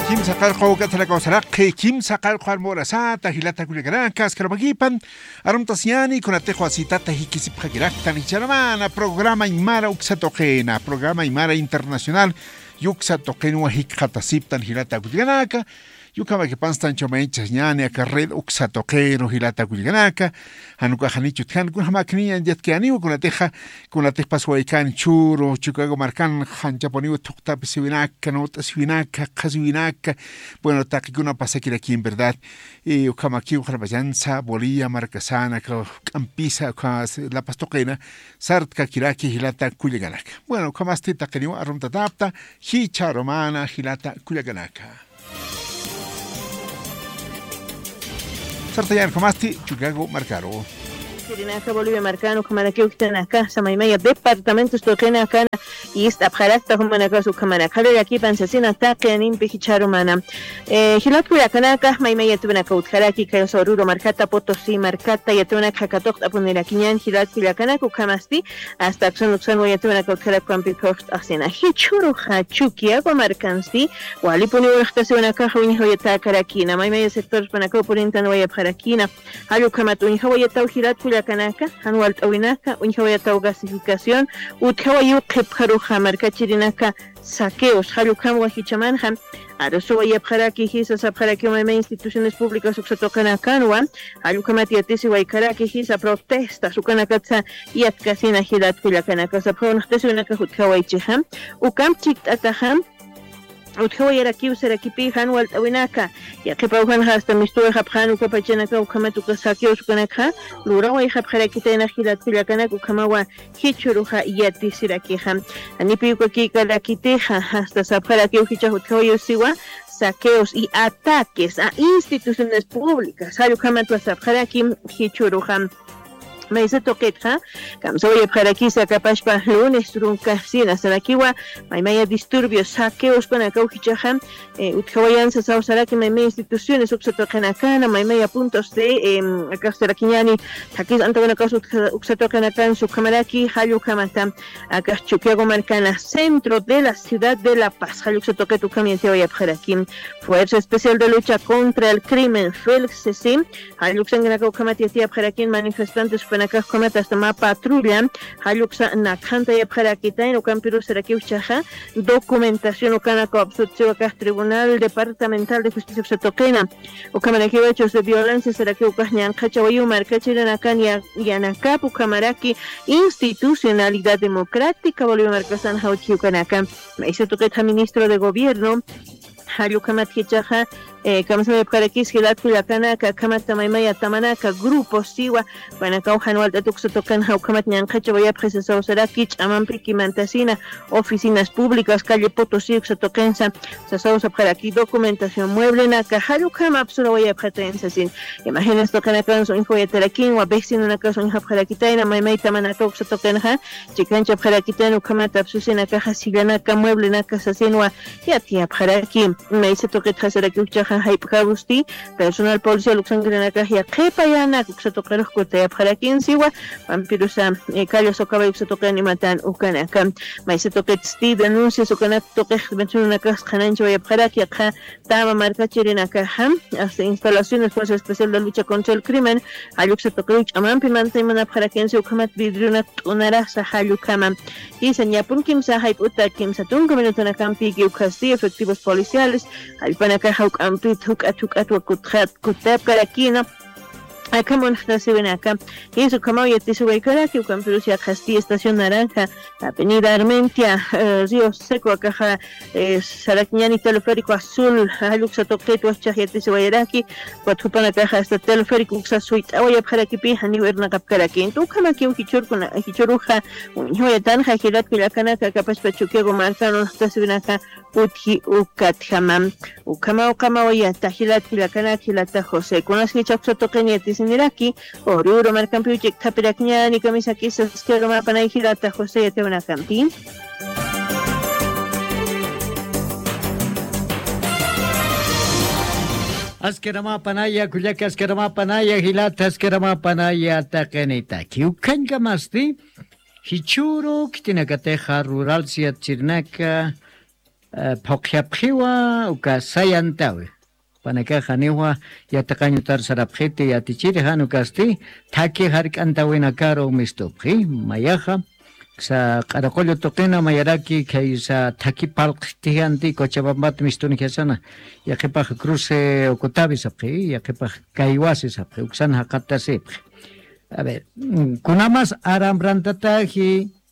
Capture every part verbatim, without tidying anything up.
Kimsa qarqu kawsaraqi, kimsa qarqu armurasata, jilata kullakanaka, askarapakipan, arumtasiñani, kunatix wasitata jikisipxakiraktan, jicharumana, programa Aymara uksa tuqina, programa Aymara internacional, yuksa tuqinwa jikxatasiptan, jilata kullakanaka, yukhamakipanstan chumaychasñani, aka red uksa tuqiru, jilata kullakanaka, janukaxanichut jan, kunjamakniñan yatkiyaniwa, kunatixa, kunatix paswaykani churu, Chicago markan, janchapuniw thuqtapisiwinaka, nut'asiwinaka, qhasiwinaka, bueno, taqikuna pasakiraki en verdad. Y ukhamakiw qharpachansa, Bolivia markasana, k'ampisa, ukha La Paz tuqina, sartkakiraki jilata kullakanaka. Bueno, ukhamasti taqiniw arumtatapta, jicharumana jilata kullakanaka. Sartañan ukhamaski Chicago markaru. Chirinaka Bolivia markan ukhamanakiw jichhanaka, samaymaya departamentos tuqinakana, ist'apxarakta jumanakax ukhamanaka, llakipan sasina taqi animpi jicharumana. Eh, jilat kullakanaka, maymaya yatwanaka utjaraki, kayusa Oruro markata, Potosí markata, yatwanaka katuqt'apunirakiñan, jilat kullakanaka ukhamasti, hasta aksan uksan wayatwanaka utjarak kampi phuqt'asina. Jichhuruxa Chuquiago markansti, walipuni urxtasiwanakaxa uñjawayatakarakina, maymaya sectores panakaw purintan wayapxarakina, jall ukhamat uñjawayataw jilat kullakanaka, jan walt'awinaka, uñjawayataw gasificación, utjawayiw qhipxaruxa markachirinaka, saqueos, jall ukhamwa jichhamanxa, arusuwayapxaraki jisa sapxaraki mayma instituciones públicas uksa tuqinakanwa, jall ukhamat yatisiwaykaraki jisa protestas ukanakatsa yatkasina jilat kullakanaka sapxaw naqtasiwinaka utjawaychixa, ukamp chikt'ataxa, utjawayarakiw sarakipi jan walt'awinaka, yaqhipaw janxa hasta mistuwayxapxan uka pachanaka ukhamat uka saqueos ukanakxa, lurawayxapxarakitayna jilat kullakanaka ukhamawa, jichhuruxa yatisirakixa. Janipi uka kikarakitixa, hasta sapxarakiw jichhax utjawayiw siwa, saqueos y ataques a instituciones públicas, jall ukhamatwa sapxaraki jichhuruxa. Maysa tuqitxa, kamsawayapxarakisa kapashpa lunes runka sina sarakiwa, maymaya disturbios, saqueos panakaw jichhaxa, eh, utjawayan sasaw saraki mayma instituciones uksa tuqinakana, maymaya puntos de, em, akax sarakiñani, thakis antawinakax utja-, uksa tuqinakan sukhamaraki, jall ukhamata, akax Chuquiago markana, centro de la ciudad de La Paz, jall uksa tuqit ukham yatiyawayapxaraki. Fuerza Especial de Lucha contra el Crimen, felc, jall uksankanaka ukhamat yatiyapxarakin, manifestantes jupanakax ukhamat hasta mä patrulla, jall uksa nakhantayapxarakitayna, ukampirus sarakiw jichhaxa, documentación ukanaka absutsiwakax Tribunal Departamental de Justicia uksa tuqina. Ukhamanakiw hechos de violencia sarakiw ukax ñanqhachawayiw markachirinakan ya-, yanakap ukhamaraki institucionalidad democrática Bolivia markasan jawchi ukanaka. Maysa tuqitxa ministro de gobierno, jall ukhamat jichhaxa, eh, kamsawayapxarakis jilat kullakanaka, akhamat tamaymaya tamanaka, grupos siwa, panakaw jan walt'at uksa tuqinxa ukhamat ñanqhachawayapxi sasaw saraki, ch'amampiki mantasina, oficinas públicas, calle Potosí uksa tuqinsa, sasaw sapxaraki documentación mueblenaka, jall ukham apsurawayapxatayan sasin. Imágenes tuqinakansa uñjawayatarakinwa, vecinonakas uñjapxarakitayna, maymay tamanaka uksa tuqinxa, chikanchapxarakitayna, ukhamat apsusinakaxa, sillanaka, mueblenaka sasinwa, yatiyapxaraki. Maysa tuqitxa sarakiw jichhaxa, jayp'karusti, personal policial uksankirinakax yaqhipayanak uksa tuqirux kutayapxarakin siwa, ukhampirusa, eh, calle Socabay uksa tuqin imatan ukanaka. Maysa tuqitsti denuncias ukanak tuqix mencionanakax qhanañchawayapxaraki, yaqha tama markachirinakaxa, hasta instalaciones Fuerza Especial de Lucha contra el Crimen, jall uksa tuqiruw ch'amampi mantaymanapxarakinsi ukhamat vidrionak t'unarasa jall ukhama. Jisa ñapun kimsa jayp'uta kimsa tunka minutanakampiki ukhasti efectivos policiales, jallpanakaxa juk'ampit juk'at juk'at wakutxat kutapkarakina. Akham unxtasiwinaka. Jisa ukhamaw yatisiwaykaraki, ukampirus yaqhasti Estación Naranja, Avenida Armentia, eh, Río Seco, akaxa, eh, sarakiñani Teleférico Azul, jall uksa tuqit wajchax yatisiwayaraki, ukat jupanakaxa hasta teleférico uksa suyt'awayapxarakipi, janiw irnaqapkaraki. Entonces, ukhamakiw jichhurkuna, jichhuruxa, uñjawayatanxa, jilat kullakanaka, kapachpa Chuquiago markan unxtasiwinaka, utji ukatjama. Ukhama, ukhama, wayata, jilat kullakanaka, jilata José. Kunas jichha uksa tuqin yatisiniraki, Oruro markampiw chikthapirakñani, kamisakisa, askiramapanay, jilata José, yatiwinakampi. Askaramapanaya, kullaka askaramapanaya, jilata askaramapanaya, taqinitaki. Ukhañkamasti, jichhuru, khitinakatixa, rural siyat chirinaka, phuqyapxiwa uka sayantawi. Panakax janiwa yatiqañutar sarapxiti yatichiri jan ukasti thaki jark'antawinakaru mistupxi mayaxa. Sa q'araqullu tuqina mayaraki khaysa thaki palqtijanti cochabambat mistunijasana. Yaqipax cruce ukutawi sapxi yaqipax kaywasi sapxi uksan jaqatasipxi. A ver, kunamas aramrantataji.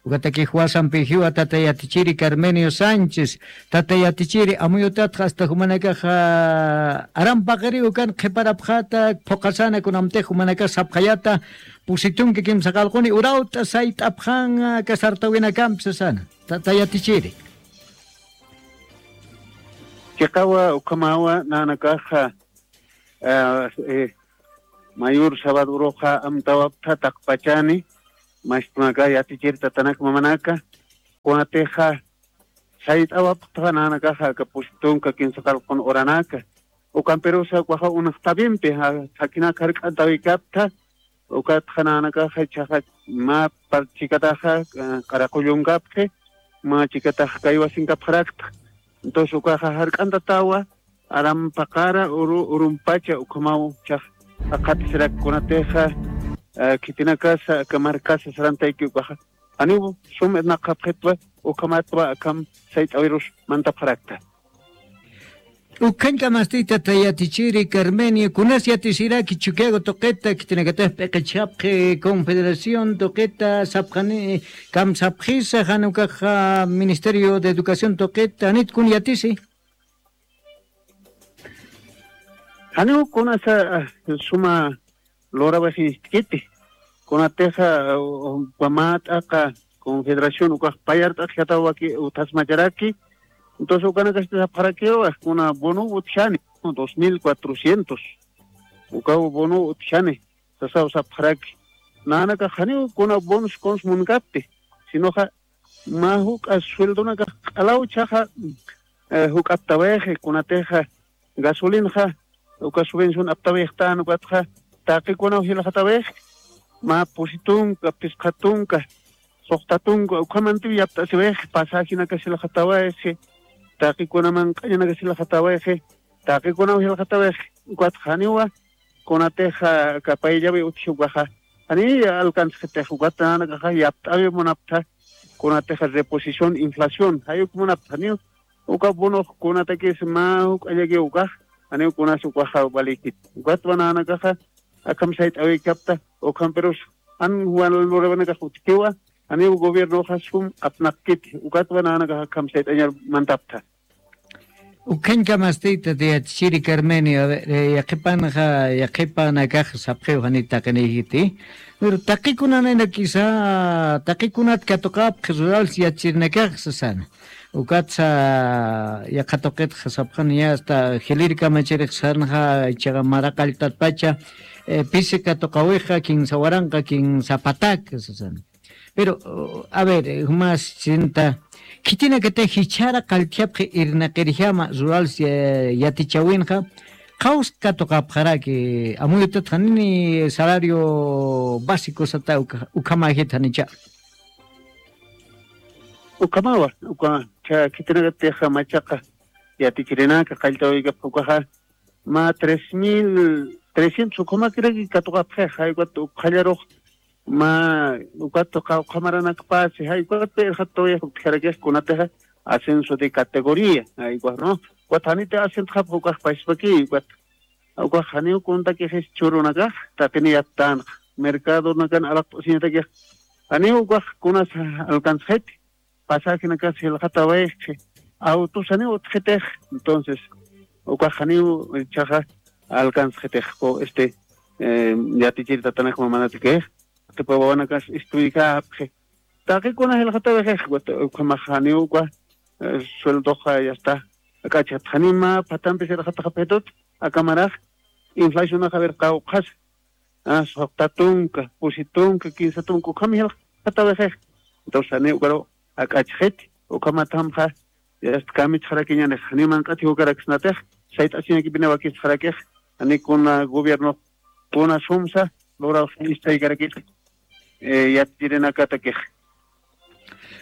Ukataki juwasampijiwa tata yatichiri carmenio sánchez. Tata yatichiri amuyutatxa asta jumanakaxa arampaqiriw kan qhiparapxata phuqasana kunamtix jumanakax sapxayata. Pusitunki kimsa qalquni urawt'a sayt'apxan kasartawinakampi sasana. Tata yatichiri. Chiqawa ukhamawa nanakaxa mayor sabaduruxa amtawaptha taqpachani. Mastunaka yatichir tatanak mamanaka kunatixa sayt'awaptha nanakaxa aka pusitunka kinsa qalqun uranaka. Ukampirusa ukaxa unaqtawimpi thakinak jark'antawikaptha. Ukatxa nanakaxa ichaxa mä parchikataxa q'araqullungapxi mä chikatax kaywasinkapxarakta. Entonces ukaxa jark'antatawa arampaqara urumpacha ukhamaw chax aqhatisirak kunatixa khitinakasa aka markasa sarantayki ukaxa janiw sum irnaqxapxitwa ukhamatwa akham sayt'awirus mantapxarakta. Ukhañkamasti tata yatichiri carmenio kunas yatisiraki chukiago tuqita khitinakatax p'iqichapxi confederación tuqita sapxani kamsapxisa jan ukaxa ministerio de educación tuqita janit kun yatisi. Janiw kunasa suma lurawaxistkiti kunatixa wamät'aqa confederación ukax payart'axyataw waki uthasmacharaki. Entonces ukanakasti sapxarakiwa kuna bono utjani dos mil cuatrocientos ukaw bono utjani sasaw sapxaraki. Nanakax janiw kuna bonos kuns munkapti sinoxa mä juk'a sueldonakax q'alaw chaxa juk'aptawayxi kunatixa gasolinxa uka subvención aptawayxtan ukatxa taqikunaw jilxatawayxi mä pusi tunka phisqa tunka suxta tunka ukhamantiw yapt'asiwayxi pasajinakas jilxatawayxi taqikuna manq'añanakas jilxatawayxi taqikunaw jilxatawayxi. Ukatxa janiwa kunatixa kapayllawi utji ukaxa janiya alcanzxitix ukat nanakaxa yapt'awi munaptha kunatixa reposición inflación jayuk munaptha janiw uka bonox kunatakis mä juk'allakiw ukax janiw kunas ukaxa valikit. Ukatwa nanakaxa akham sayt'awikapta ukhampirus jan juwan lurawinakax utjkiwa janiw gobiernoxa sum apnaqkiti ukatwa nanakaxa akham sayt'añar mantaptha. Ukhañkamasti tata yatichiri carmenio yaqhipanxa yaqhipanakax sapxiw janit taqinïjiti pero taqikunanakisa taqikunat katuqapxi rurals yatichirinakax sasana. Ukatsa yaqha tuqitxa sapxani asta jiliri kamachirix sarnxa ichaqa maraqalltatpacha pisi katuqawixa kinsa waranqa kinsa patak sasana. Pero a ver jumas chinta khitinakatix jichhara qalltjapxi irnaqirjama rurals yatichawinxa qhawsa katuqapxaraki amuyutatxa nini salario básico sata ukhamäjit janicha. Ukhamawa uka khitinakatixa machaqa yatichirinaka qalltawikapxa ukaxa mä tres mil trescientos ukhamakiraki katuqapxix jaykuta ukxallarux mä ukat qawqhamaranakpasi jaykuta irxatawayx utjarakix kunatixa ascenso de categoría jaykuta no ukat janiti ascentxapxa ukax paspakiy ukat ukax janiw kuntakixis churunakax taqini yaptanxa mercadonakan alaqt'asiñatakix janiw ukax kunas alcanzxiti pasajinakas jilxatawayxi autosaniw utjitix. Entonces ukax janiw ichaxa alcanzxitix este yatichir tatanak mamanatikix qhipa wawanakas istuyjapxi taqikuna jilxatawayxix ukhamax janiw uka sueldoxa yasta ak'achxat janiw mä phatampis jilxataxapxitut akamarax inflacionax a ver qawqhasa suxta tunka pusi tunka kinsa tunka ukham jilxatawixix. Entonces janiw ukaru ak'achxiti ukhamathamxa yasta kamichxarakiñanix janiw manq'at jiwakaraksnatix sayt'asiñakipiniw wakistxarakix janiw kuna gobiernox kuna sumsa lurawxi istaykarakiti yatirinakatakix.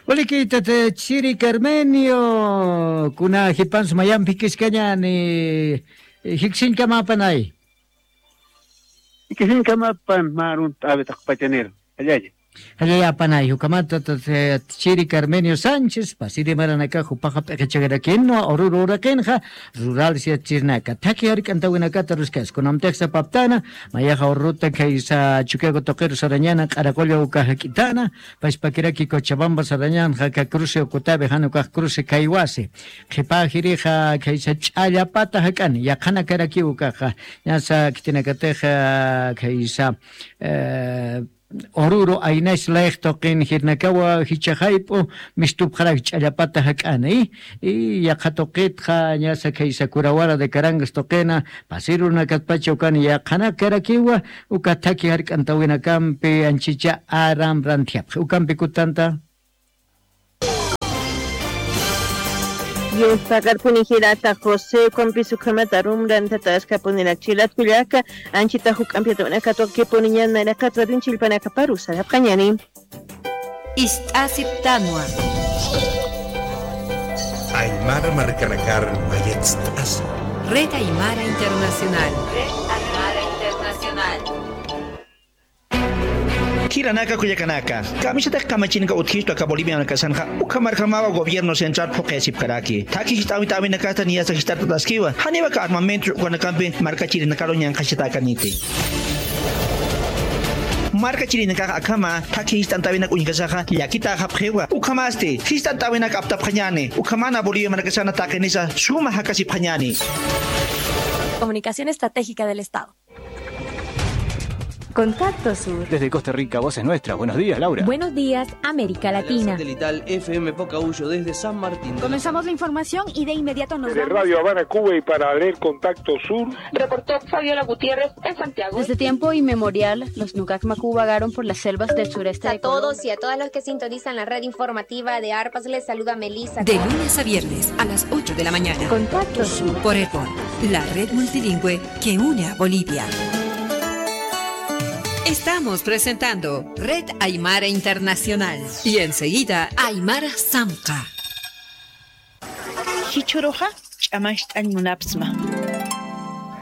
Walikïtat, eh, Chiri Carmenio, kuna jipansa mayamp jikiskañäni, eh, jikisiñkamapanay. Jikisiñkamapan mä aruntt'äwi taqpachanir. Jallalla. Jallalla, panay, ukhamat, eh, Chiri Carmenio Sánchez, pasiri maranakax jupaxa p'iqichakarakinwa, Oruro uraqinxa, rural siyatsirnaka. Thakhi jark'antawinakata aruskasi, kunamtix sapaptana, mayaxa Orurota khaysa Chukiyawu tuqiru sarañäna, Q'araqulla uka jak'itäna, pachpakiraki Cochabamba sarañänxa, aka cruce ukatïwi, jan ukax cruce Caiguasi. Qhipa jirixa khaysa Ch'allapata jak'ani, yaqhanakarakiw ukaxa, ñasa khitinakatixa khaysa, eh, Oruro aynash layx tuqin jirnakawa jichha jayp'u mistupxarak Ch'allapata jak'ani, y yaqha tuqitxa ñasa khaysa Curahuara de Carangas tuqina, pasir urunakatpacha ukani yaqhanakarakiwa, uka thakhi jark'antawinakampi anchicha aram ranthiyapxi. Ukampi kutanta. Dios pagarpuni jirata José, ukampis ukhamat arum ranthata askapunirak. Chilat kullaka, anchita juk'ampi atuqinakatwa kipuniñan nayraqat radion chillpanakaparu sarapxañäni. Ist'asiptanwa. Aymara markanakar mayatst'asa. Red Aymara Internacional. Red Aymara Internacional. Jilanaka kullakanaka, kamisatix kamachinaka utjistu aka Bolivianakasanxa, ukhamarjamawa gobierno central phuqhisipkaraki. Thakhi jist'äwit'äwinakasta niyasa jist'artataskiwa, janiw aka armamentos ukanakampi markachirinakaru ñanqhachatakaniti. Markachirinakax akhama thakhi jist'antäwinak uñjasaxa llakitäxapxiwa. Ukhamasti, jist'antäwinak aptapxañäni, ukhamana Bolivia markasana taqinisa suma jakasipxañäni. Comunicación Estratégica del Estado. Contacto Sur. Desde Costa Rica, voz es nuestra. Buenos días, Laura. Buenos días, América Latina. Satelital F M Pocahuyo desde San Martín de los Comenzamos la información y de inmediato nos vamos. Desde Radio Habana, Cuba, y para leer Contacto Sur. Reportó Fabiola Gutiérrez en Santiago. Desde tiempo inmemorial, los Nukak Maku vagaron por las selvas del sureste de Colombia. A todos y a todas los que sintonizan la red informativa de Arpas, les saluda Melissa. De lunes a viernes a las ocho de la mañana. Contacto Sur. Por Earborn, la red multilingüe que une a Bolivia. Estamos presentando Red Aymara Internacional y enseguida Aymara Samqa. Jichhüruxa ch'amacht'añ munapsma.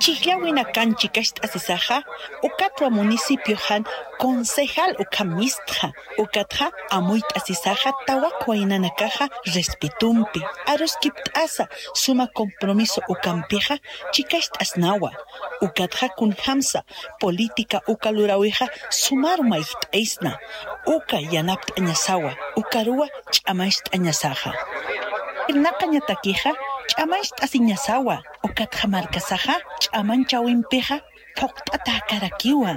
Chhijllawinakan chikacht'asisaxa, ukatwa municipioxan concejal ukham mistxa, ukatxa amuyt'asisaxa tawaq waynanakaxa respetompi, aruskipt'asa suma compromiso ukampixa chikacht'asnawa, ukatxa kunjamsa política uka luräwixa sumaru mayjt'aysna, uka yanapt'añasawa, ukaruwa ch'amacht'añasaxa. Irnaqañatakixa ch'amacht'asiñasawa, ukatxa markasaxa ch'amañchawimpixa phuqt'atäkarakiwa.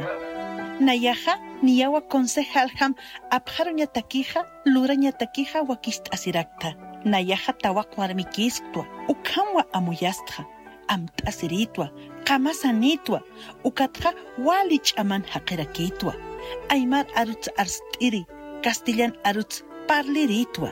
Nayaxa niyawa concejaljam apxaruñatakixa, lurañatakixa wakicht'asirakta. Nayaxa tawaq warmikïsktwa, ukhamwa amuyastxa, amt'asirïtwa, qamasanïtwa, ukatxa wali ch'aman jaqirakïtwa. Aymar aruts arst'iri, castellan aruts parlirïtwa.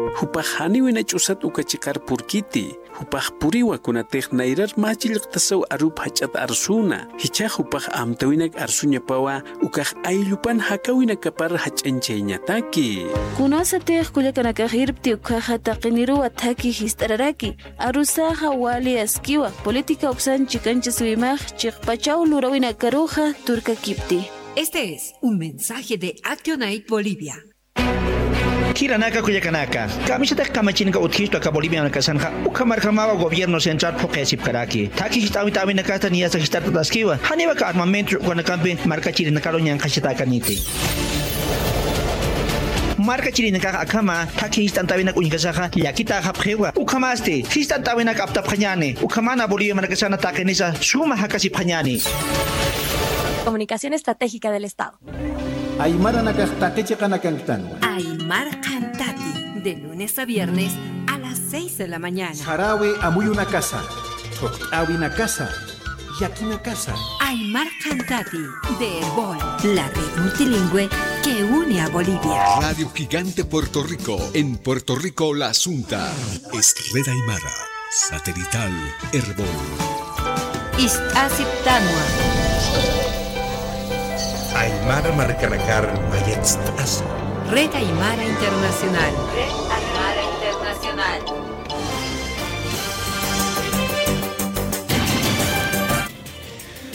Jupax janiw ina ch'usat uka chiqar purkiti, jupax puriwa kunatix nayrar mä chillqtasaw arup jach'at arsuna, jichhax jupax amtäwinak arsuñapawa, ukax ayllupan jakäwinakapar jach'añchayañataki. Kunasatix kullakanakax irpti ukkhaxa taqiniruwa thakhi jist'araraki, arusaxa wali askiwa, política uksan chikanchasiwimax chiqpachaw luräwinakaruxa turkakipti. Este es un mensaje de Actionaid Bolivia. Jilanaka kullakanaka, kamisatix kamachinaka utjistu aka Bolivianakasanxa, ukhamarjamawa gobierno central phuqhisipkaraki. Thakhi jist'äwit'äwinakasta niyasa jist'artataskiwa, janiw aka armamentos ukanakampi markachirinakaru ñanqhachatakaniti. Markachirinakax akhama thakhi jist'antäwinak uñjasaxa llakitäxapxiwa. Ukhamasti, jist'antäwinak aptapxañäni, ukhamana Bolivia markasana taqinisa suma jakasipxañäni. Comunicación Estratégica del Estado. Aymaranakax taqi chiqanakanktanwa. Aymar Qhantati, de lunes a viernes a las seis de la mañana. Saräwi amuyunakasa, thuqt'äwinakasa, llakinakasa. Aymar Qhantati, de Erbol, la red multilingüe que une a Bolivia. Radio Gigante Puerto Rico, en Puerto Rico la Asunta. Es Red Aymara, satelital, Erbol. Ist'asiptanwa. Aymara markanakar mayatst'asa. Red Aymara Internacional. Red Aymara Internacional.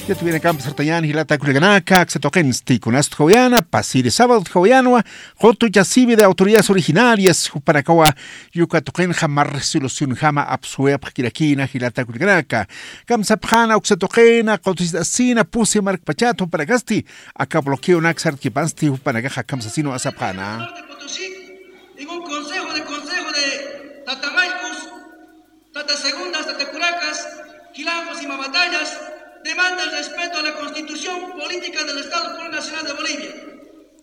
Yatiyäwinakampi sartañäni jilata kullakanaka, aksa tuqinsti kunasat utjawayäna, pasiri sábado utjawayänwa, qutuchasiwi de autoridades originarias, jupanakawa, uka tuqinxa mä resolucionjama apsuwayapxakirakïna jilata kullakanaka. Kamsapxäna uksa tuqina, qutuchasina, pusi markpachat jupanakasti, aka bloqueonak sartkipansti jupanakaxa kamsasinwa sapxäna. Norte Potosí, en un consejo de, consejo de Tata Maykus, Tata Segundas, Tata Curacas, Quilancos y Mamatayas, demanda el respeto a la Constitución Política del Estado Plurinacional de Bolivia,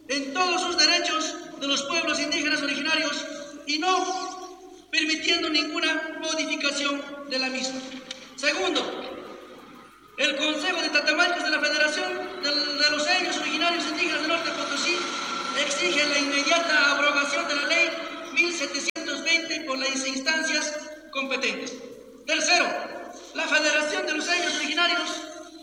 en todos sus derechos de los pueblos indígenas originarios y no permitiendo ninguna modificación de la misma. Segundo, el Consejo de Tata Maykus de la Federación de, de los Ayllus Originarios Indígenas del Norte Potosí exige la inmediata abrogación de la ley mil setecientos veinte por las instancias competentes. Tercero, la Federación de los Ayllus Originarios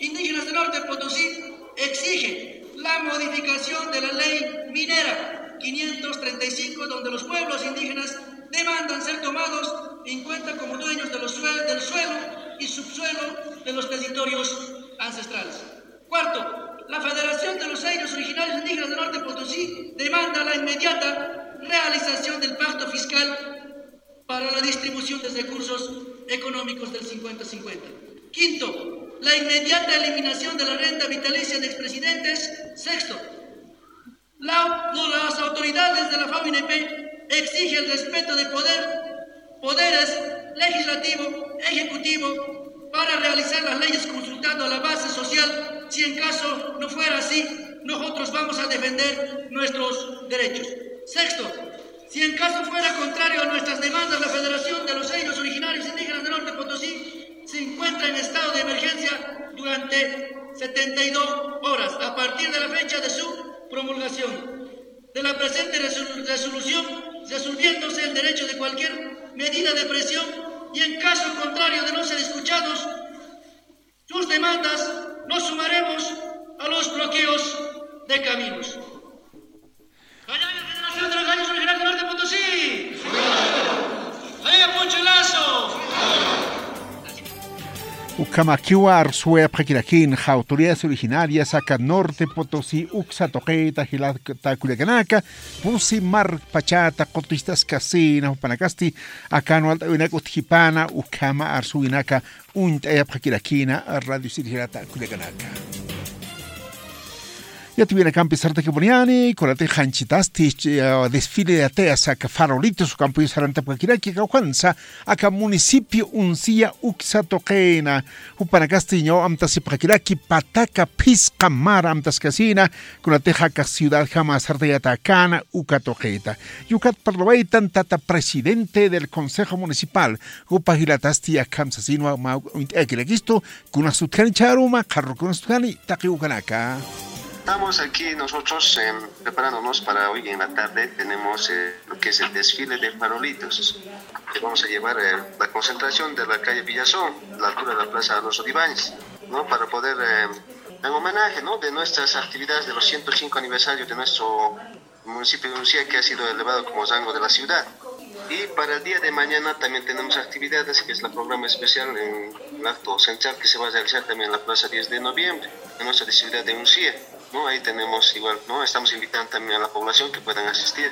Indígenas del Norte Potosí exige la modificación de la ley minera quinientos treinta y cinco, donde los pueblos indígenas demandan ser tomados en cuenta como dueños de los sue-, del suelo y subsuelo de los territorios ancestrales. Cuarto, la Federación de los Ayllus Originarios Indígenas del Norte Potosí demanda la inmediata realización del pacto fiscal para la distribución de recursos económicos del cincuenta cincuenta. Quinto, la inmediata eliminación de la renta vitalicia de expresidentes. Sexto, la, las autoridades de la FAO-INEP exigen el respeto de poder, poderes legislativo, ejecutivo, para realizar las leyes consultando a la base social. Si en caso no fuera así, nosotros vamos a defender nuestros derechos. Sexto, si en caso fuera contrario a nuestras demandas, la Federación de los Ayllus Originarios Indígenas del Norte Potosí se encuentra en estado de emergencia durante setenta y dos horas a partir de la fecha de su promulgación de la presente resolu-, resolución, resolviéndose el derecho de cualquier medida de presión y, en caso contrario de no ser escuchados, sus demandas nos sumaremos a los bloqueos de caminos. ¡Allá la Federación de los Ayllus Originarios del Norte Potosí! ¡Allá Poncho Lazo! Ukhamakiwa arsuwayapxakirakïn, autoridades originarias aka Norte Potosí uksa tuqita jilata kullakanaka, pusi markpachata qutuchitaskasina jupanakasti, akan walt'äwinak utjkipana, ukhama arsuwinaka uñt'ayapxakirakïna, radio sirjirata kullakanaka. Yatiyäwinakampi sartakipuniyäni, kunatix janchitasti, eh, desfile de ateas aka farolitos, ukampis sarantapxakiraki, kawkhansa, aka municipio Uncía uksa tuqina, jupanakasti ñaw amtasipxakiraki, pataka phisqa mara amtaskasina, kunatix aka ciudadjama sartayatäkäna uka tuqita. Ukat parlawaytan tata presidente del Consejo Municipal, jupa jilatasti akham sasinwa mä uñt'ayakirakistu, kunas utjani chharuma, qharürukunas utjani, taqi ukanaka. Estamos aquí nosotros, em, preparándonos para hoy en la tarde. Tenemos, eh, lo que es el desfile de farolitos, que vamos a llevar, eh, la concentración de la calle Villazón, la altura de la Plaza Alonso de Ibáñez, ¿no? Para poder, eh, en homenaje, ¿no? De nuestras actividades de los ciento cinco aniversarios de nuestro municipio de Uncía, que ha sido elevado como rango de la ciudad. Y para el día de mañana también tenemos actividades, que es la programa especial en el acto central que se va a realizar también en la Plaza diez de Noviembre, en nuestra ciudad de Uncía, ¿no? Ahí tenemos igual, ¿no? Estamos invitando también a la población que puedan asistir,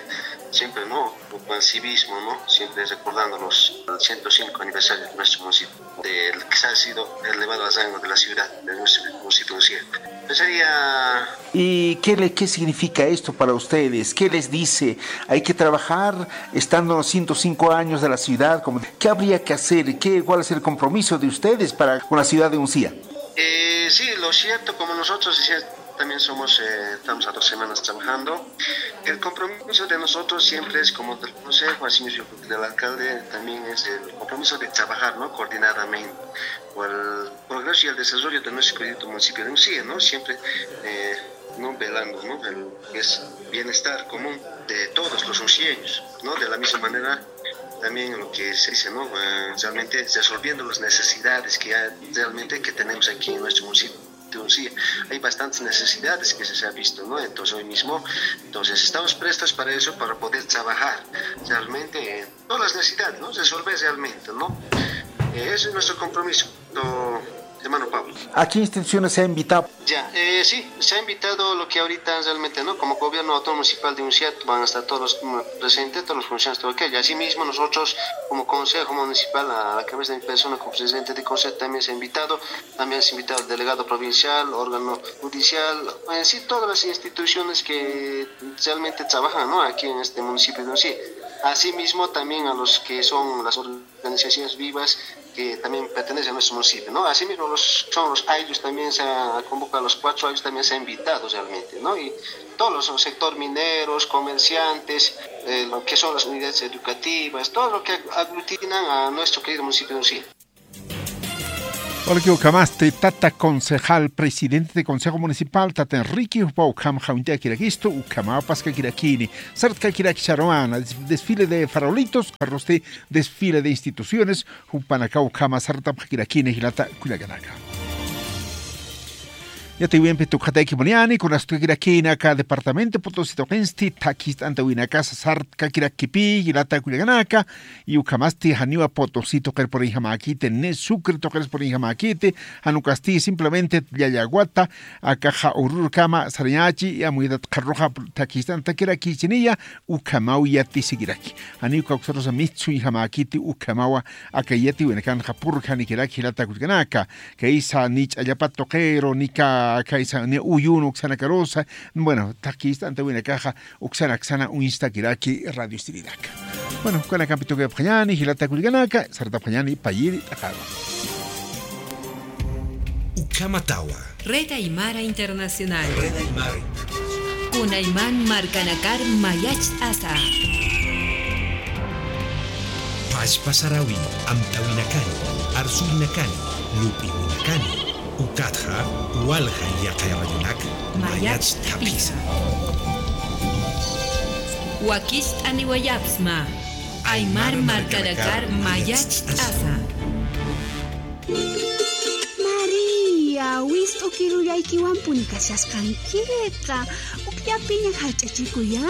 siempre, ¿no? Con el civismo, ¿no? Siempre recordando los ciento cinco aniversarios de nuestro municipio, del que ha sido elevado al rango de la ciudad, de nuestro municipio Uncía. Pues sería... ¿Y qué le, qué significa esto para ustedes? ¿Qué les dice? Hay que trabajar estando en los ciento cinco años de la ciudad. Como, ¿qué habría que hacer? ¿Qué, cuál es el compromiso de ustedes para con la ciudad de Uncía? Eh, sí, lo cierto, como nosotros ya también somos, eh, estamos a dos semanas trabajando, el compromiso de nosotros siempre es, como del consejo, así mismo del alcalde, también es el compromiso de trabajar, ¿no? Coordinadamente por el progreso y el desarrollo de nuestro querido municipio de Uncía, ¿no? Siempre, eh, ¿no? Velando, ¿no? El, es bienestar común de todos los uncieños, ¿no? De la misma manera, también lo que se dice, ¿no? Eh, realmente resolviendo las necesidades que hay, realmente que tenemos aquí en nuestro municipio. Sí, hay bastantes necesidades que se, se ha visto, ¿no? Entonces, hoy mismo, entonces, estamos prestos para eso, para poder trabajar realmente en todas las necesidades, ¿no? Resolver realmente, ¿no? Eh, ese es nuestro compromiso, hermano Pablo. ¿A qué instituciones se ha invitado? Ya, eh, sí, se ha invitado lo que ahorita realmente, ¿no? Como gobierno autónomo municipal de Unciat, van a estar todos los, mm, presentes, todos los funcionarios, todo aquello. Asimismo, nosotros, como consejo municipal, a la cabeza de mi persona, como presidente de consejo, también se ha invitado, también se ha invitado el delegado provincial, órgano judicial, en sí, todas las instituciones que realmente trabajan, ¿no? Aquí en este municipio de Unciat. Asimismo, también a los que son las organizaciones vivas que también pertenecen a nuestro municipio, ¿no? Asimismo, los, son los ayllus también se ha convocado, los cuatro ayllus también se ha invitado realmente, ¿no? Y todos los sectores mineros, comerciantes, eh, lo que son las unidades educativas, todo lo que aglutinan a nuestro querido municipio de Unciat. Walikiw ukhamasti tata concejal, presidente de Consejo Municipal, tata Enrique, jupaw ukham jawintakirakistu, ukhamaw paskakirakini, sartkakirakisarumana, des-, desfile de farolitos, arrosti desfile de instituciones, jupanakaw ukhama sartapxakirakini jilata kullakanaka. Yatiwimpi tukxatayki muniyani, kunasatkakirakini aka departamento Potosí tuqinsti, thakhist'antawinakasa sartkakirakipï, jilata kullakanaka, y ukhamasti janiwa Potosí tuqir puriyjamäkiti, ni Sucre tuqir puriyjamäkiti, jan ukasti simplemente Llallagwata, akaxa Orurokama sarañachi, y amuytat qharüruxa thakhist'antakirakichiniya, ukhamaw yatisikiraki. Janiw kawksarusa mistsuñjamäkiti ukhamawa, aka yatiwinakanxa purjanikiraki jilata kullakanaka. Kaysa ni ch'allapat tuqiru, ni ka, kaysa ni uyun uksanakarusa. Bueno, thakhist'antawinakaxa uksanak sana uñstakiraki radio estridaka. Bueno, ukanakampi tukipxañani, jilata kullakanaka, sartapxañani payiri t'aqaru. Ukhamatawa. Red Aymara Internacional. Red Aymara Internacional. Kunayman markanakar mayacht'asa. Pachpa sarawi, amtawinakani, arsurinakani, lup'iwinakani, ukatxa walja yaqay radionak mayacht'apisa. Wakicht'aniwayapxsma. Aymar markanakar mayacht'asa. María, wist'u kirullaykiwampuni kashasqankiqa. Ukllapiña jallch'achikuyá.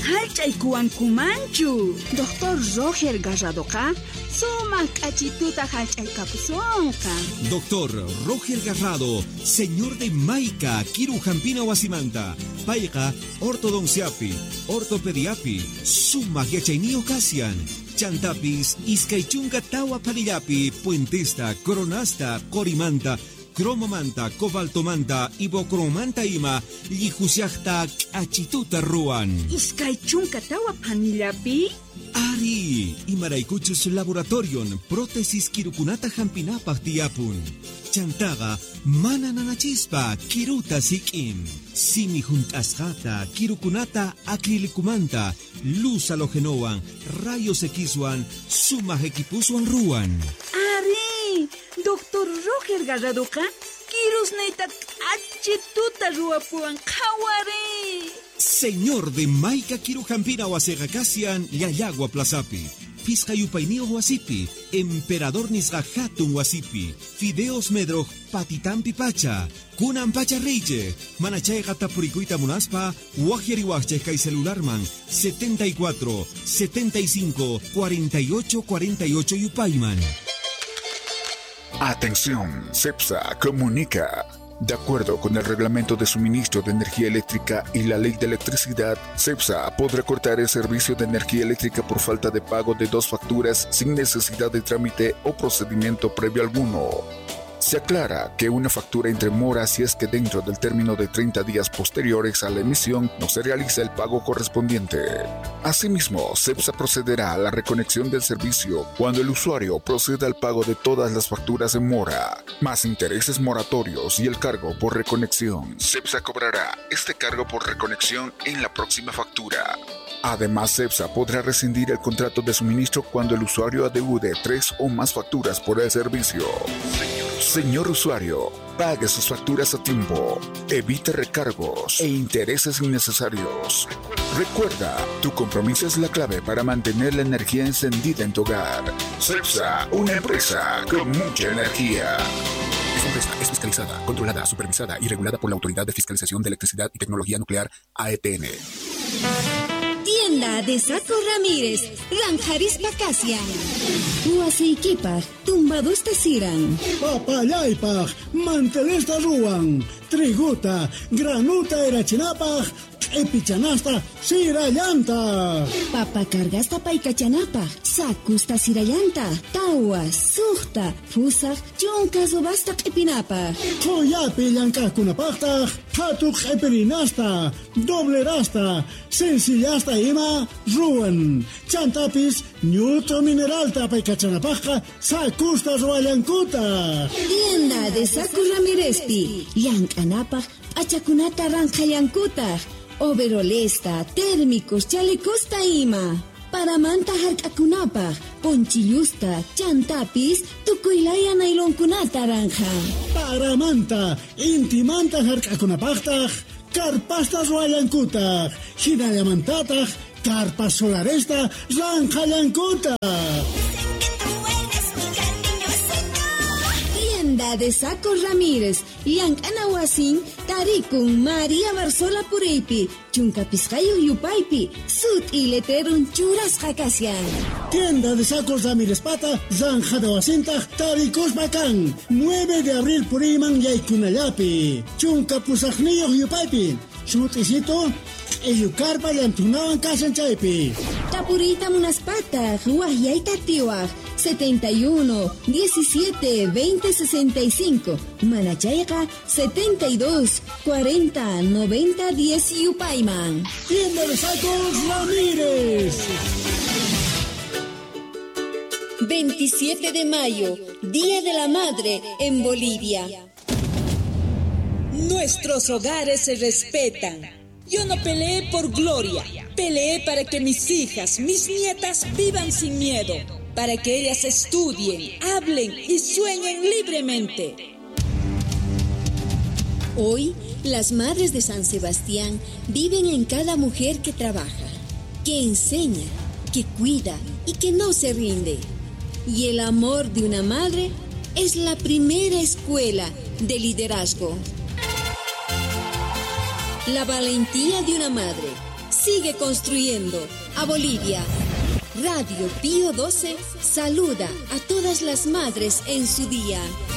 Jallch'aykuwankumanchu. Doctor Roger Garradoqa sumaq k'achituta jallch'aykapusunqa. Doctor Roger Garrado, señor de Maica, kiru jampina wasimanta. Payqa ortodonciapi, ortopediapi sumaq yachayniyuq kasyan. Chantapis iskay chunka tawa phanillapi puentesta, coronasta, qorimanta, cromomanta, cobaltomanta, ibocromanta ima llijushaqta k'achituta ruwan. Iskay chunka tawa phanillapi? Ari, imaraykuchus laboratorion prótesis kirukunata jampinapaq tiyapun. Chantaqa mana nanachispa kiruta sik'in. Simi junt'asqata, kirukunata acrílicomanta, luz halógenowan, rayos Xwan, sumaq equiposwan ruwan. Ari, doctor Roger Garradoqa kirusniyta k'achituta ruwapuwan, qhawari. Señor de Maica kiru jampina wasiqa kasyan Llallagwa plazapi, phisqa yupayniyuq wasipi, Emperador nisqa jatun wasipi, Fideos Medroj patitampi pacha. Kunanpacha riychik, manachayqa tapurikuyta munaspa, waqyariwaqchik kay celularman, setenta y cuatro, setenta y cinco, cuarenta y ocho, cuarenta y ocho yupayman. Atención, CEPSA comunica. De acuerdo con el Reglamento de Suministro de Energía Eléctrica y la Ley de Electricidad, CEPSA podrá cortar el servicio de energía eléctrica por falta de pago de dos facturas sin necesidad de trámite o procedimiento previo alguno. Se aclara que una factura entra en mora si es que dentro del término de treinta días posteriores a la emisión no se realiza el pago correspondiente. Asimismo, CEPSA procederá a la reconexión del servicio cuando el usuario proceda al pago de todas las facturas en mora, más intereses moratorios y el cargo por reconexión. CEPSA cobrará este cargo por reconexión en la próxima factura. Además, CEPSA podrá rescindir el contrato de suministro cuando el usuario adeude tres o más facturas por el servicio. Señor usuario, pague sus facturas a tiempo. Evite recargos e intereses innecesarios. Recuerda, tu compromiso es la clave para mantener la energía encendida en tu hogar. CEPSA, una empresa con mucha energía. Esta es fiscalizada, controlada, supervisada y regulada por la Autoridad de Fiscalización de Electricidad y Tecnología Nuclear, A E T N. Tienda de Saco Ramírez, Ranjarispa Kasian. Uaseikipaj, tumbadusta siran. Papallaypaj, mantelista ruwan, triguta, granuta irachinapaj, q'ipichanasta sirallanta. Papa cargasta paykachanapaj, sakusta sirallanta, tawa, suxta, fusax, chunka subasta q'ipinapaj. Quyapi llank'akunapajtaj, phatu q'ipirinasta, doblerasta, sencillasta ima ruwan. Chantapis ñut'u mineralta apaykachanapajqa sakusta ruwallankuta. Tienda de Saco Ramírezpi, llank'anapaj p'achakunata ranqhallankuta, overolesta, térmicos, chalecosta ima. Paramanta jark'akunapaj, ponchillusta, chantapis tukuylaya nailonkunata ranqha. Paramanta, intimanta jark'akunapajtaj, carpasta ruwallankuta, jinallamantataj carpa solaresta ranqhallankuta. Tienda de Saco Ramírez, llank'ana wasin, tarikun María Barzola puriypi, chunka pisqayuq yupaypi, sut'i letrerun churasqa kashan. Tienda de Saco Ramírez pata, ranqhada wasintaj tarikuspa kan, nueve de abril puriyman yaykunallapi, chunka pusaqniyuq yupaypi. Sut'isitu, q'illu carpa llanthunawan kashan chaypi. Tapuriyta munaspataj, wajyayta tiwaj, setenta y uno, diecisiete, veinte, sesenta y cinco, manachayqa, setenta y dos, cuarenta, noventa, diez yupayman. Tienda de Sacos Ramírez. Veintisiete de mayo, Día de la Madre en Bolivia. Nuestros hogares se respetan. Yo no peleé por gloria, peleé para que mis hijas, mis nietas vivan sin miedo, para que ellas estudien, hablen y sueñen libremente. Hoy, las madres de San Sebastián viven en cada mujer que trabaja, que enseña, que cuida y que no se rinde. Y el amor de una madre es la primera escuela de liderazgo. La valentía de una madre sigue construyendo a Bolivia. Radio Pío doce saluda a todas las madres en su día.